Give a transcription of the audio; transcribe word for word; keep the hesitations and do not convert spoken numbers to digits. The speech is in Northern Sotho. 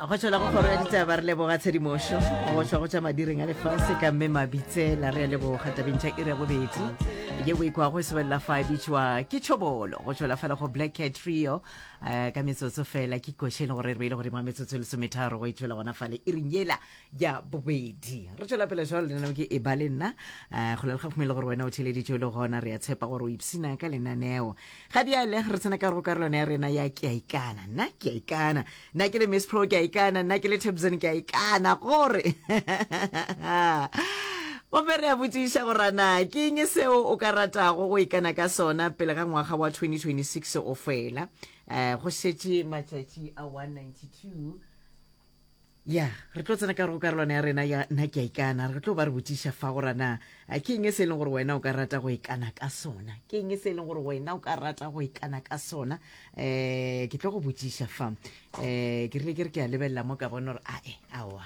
Go tšwela go kgoro ya ditaba, re leboga tshedimošo go tšwa go tša madireng a lefase ka mme Mabitsela. Re a leboga. Tabeng tša iri ya bobedi ye o ikwago e sebelela fa e bitšwa ke Tšhobolo go tšwela fela go Black Cat Trio. um ka metsotso fela ke koše e le gore re beile godimo ga metsotso e lesometharo go e tšwela gona fale iring yela ya bobedi. Re tšwela pele jalo, lenaneo ke e ba le nna. um go le gafumele gore wena o theleditše o le gona, re a tshepa gore o ipsina ka lenaneo. Ga bjale re tsena ka go karolwana ya rena ya ke a ikana. Nna ke a ikana, nna ke le Miss Pro ke a ikana, nna ke le Tabson ke a ikana gore gomme re a botšiša gore na ke eng seo o ka ratago go ikana ka sona pele ga ngwaga wa twenty twenty-six o fela. um go šetše matšatši a one ninety-two. Ya, re tlo tsena ka go karolwana ya rena ya nna ke a ikana. Re tlo ba re botšiša fa gore na ke eng se e leng gore wena o ka rata go ikana ka sona, ke eng se e leng gore wena o ka rata go ikana ka sona. um ke tlo go botšiša fa. um ke rile ke re ke a lebelela mo ka bona gore ae aowa.